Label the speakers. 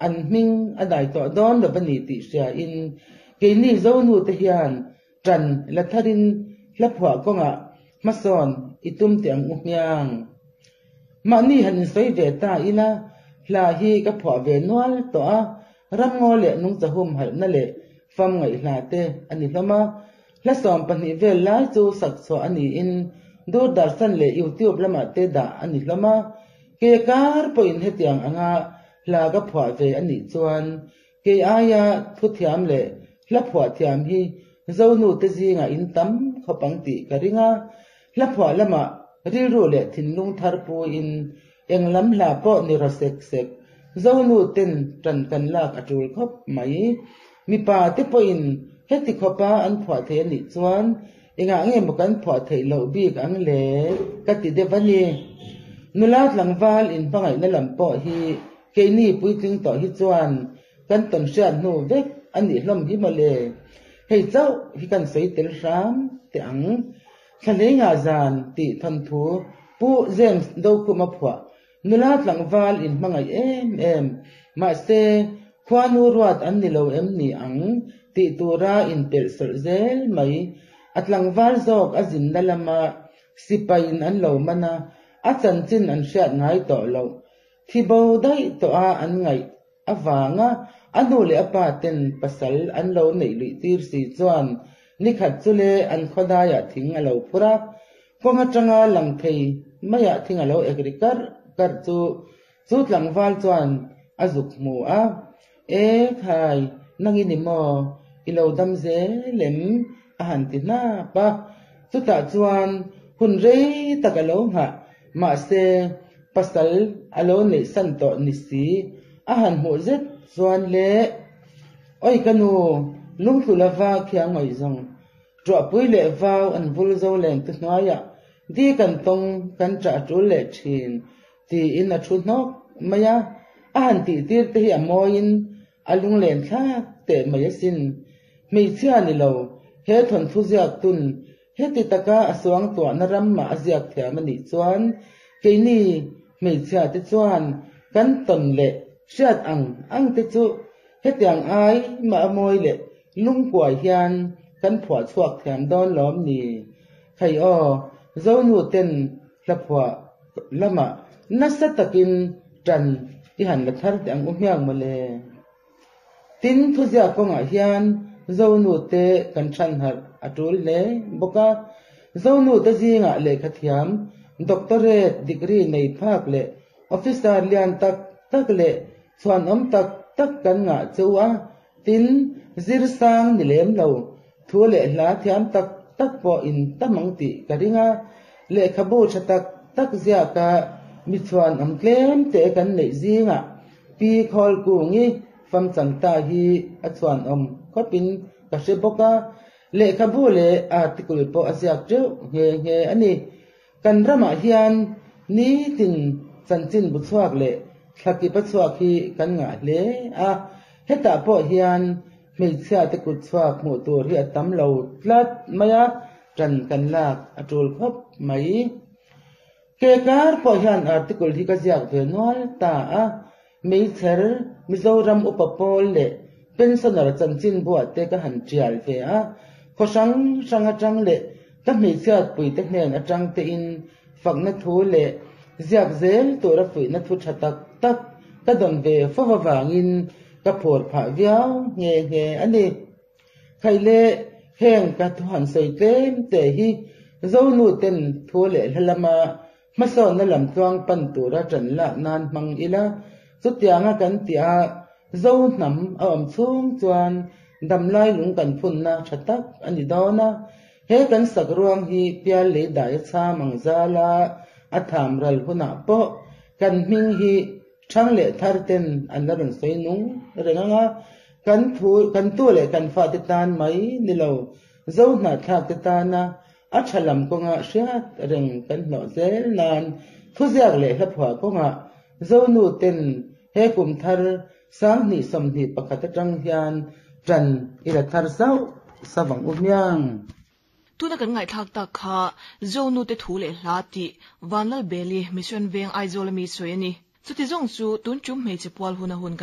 Speaker 1: An hming a dai tawh dawn lo a ni tih hriain keini Zonute hian ṭan la tharin hla phuah kawngah hmasawn i tum teh ang u hmiang. Mahni han insawi ve ta ila, hla hi ka phuah ve nual tawh a, ramngaw leh nungcha humhalhna leh fam ngaihhla te a ni hlawm a. Hla 12 vel lai chu sak chhuah a niin Doordarshan leh YouTube lamah te dah a ni hlawm a. Ke kar pawhin hetiang anga hla ka phuah ve a nih chuan kei aia thu thiam leh hla phuah thiam hi Zonu te zingah in tam khawp ang tih ka ring a. Hla phuah lamah rilru leh thinlung thar puiin eng lam hla pawh ni raw sek sek Zonu ten ṭan kan lak a ṭul khawp mai. Mipa te pawhin heti khawpa an phuah thei a nih chuan engah nge maw kan phuah theih loh bik ang le ka ti deuh a ni. Nula tlangval inhmangaihna lam pawh hi keini puitling tawh hi chuan kan tawn hriat hnu vek a nih hlawm hi mawle. Hei chauh hi kan sawi tel hram teh ang. Thlaleinga zan tih thawnthu Pu James Dokhuma phuah Nula tlangval in hmangaih em em, mahse khuanu ruat an ni lo em ni ang tih tura inpelh sawlh zel mai. A tlangval zawk a zinna lama sipaiin an lo man a, a chanchin an hriat ngai tawh loh. Thi bo daih tawh a an ngaih avanga a nu leh a pa ten pasal an lo neih luih tir si chuan nikhat chu le an khawdaiah thing a lo phur a, kawng atanga lang thei maiah thing a lo ek ri karh karh chu chu tlangval chuan a zuk hmu a, E khai, nang i ni maw? I lo dam zel em? a han ti hnap a, chutah chuan hun rei tak a lo nghah Mahse, pasal a lo neih san tawh ni si, a han hmuh zet chuan le, Oi ka nu, lungtlu lova khiang ngawi zawng, ṭuahpui leh vau an vul zo leng tu hnuaiah di kan tawng kan ṭah ṭul leh ṭhin, tiin a thu hnawk mai a, a han tihtir te hi a mawiin a lunglen thlak teh mai asin. Hmeichhia ni lo, he thawnthu ziak tun Heti taka a suangtuahna ram mah a ziak thiam a nih chuan keini hmeichhia te chuan kan tawn leh hriat ang ang te chu hetiang ai mah a mawi leh lungkuai hian kan phuah chhuak thiam dawn lawm ni? Hei aw, Zonu ten hla phuah lamah nasa takin ṭan i han la thar teh ang u hmiang mawle. Tin, thuziak kawngah hian Zonute kan chhanharh a tul hle bawk a. Zonute zingah lehkhathiam, doctorate degree nei phak leh officer lian tak tak leh chhuanawm tak tak kan ngah cheu a. Tin, zir sang ni lem lo, thu leh hla thiam tak tak pawh in tam ang tih ka ring a. Lehkhabu tha tak tak ziaka mi chhuanawm tlem te kan neih zingah Pi Khawlkungi famchangta hi a chhuanawm khawpin ka hre bawk a, lehkhabu leh article pawh a ziak teuh nghe nghe a ni. Kan ramah hian nitin chanchin bu chhuak leh thlakip a chhuak hi kan ngah hle a, hetah pawh hian hmeichhia te kut chhuak hmuh tur hi a tam lo tlat mai a, ṭan kan lak a ṭul khawp mai. Ke kar pawh hian article hi ka ziak ve nual ta a, Meichher, Mizoram upa pawl leh pensioner chanchin buah te ka han tial ve a, khaw hrang hrang atang leh ka hmeichhiatpui te hnen atang tein fakna thu leh ziak zel tura fuihna thu tha tak tak ka dawn ve fo avangin ka phur phah viau nghe nghe a ni. Khaile heng ka thu han sawi tlem teh hi Zonu ten thu leh hla lama hmasawnna lam tluang pan tura ṭan lak nan hmang ila, chutianga kan tih a Zo hnam a awm chhung chuan damlai lung kan phunna ṭha tak a ni dawn a. He kan sak ruang hi pial lei dai a chham ang zal a, a tham ral hunah pawh kan hming hi Thang leh thar ten an la rawn sawi nung reng ang a, kan thu, kan tu leh kan fate tan mai ni lo, zo hnahthlak te tana a tha lam kawnga hriat reng kan hlawh zel nan thuziak leh hlaphuah kawngah Zonu ten he kum thar 2021 atang hian ṭan i la thar sauh sauh ang u hmiang.
Speaker 2: Tuna kan ngaihthlak tak kha Zonute thu leh hla tih Vanlalbeli Mission Veng Aizawl ami sawi a ni. Chuti zawng chu tun tum hmeichhe pual huna hun kan.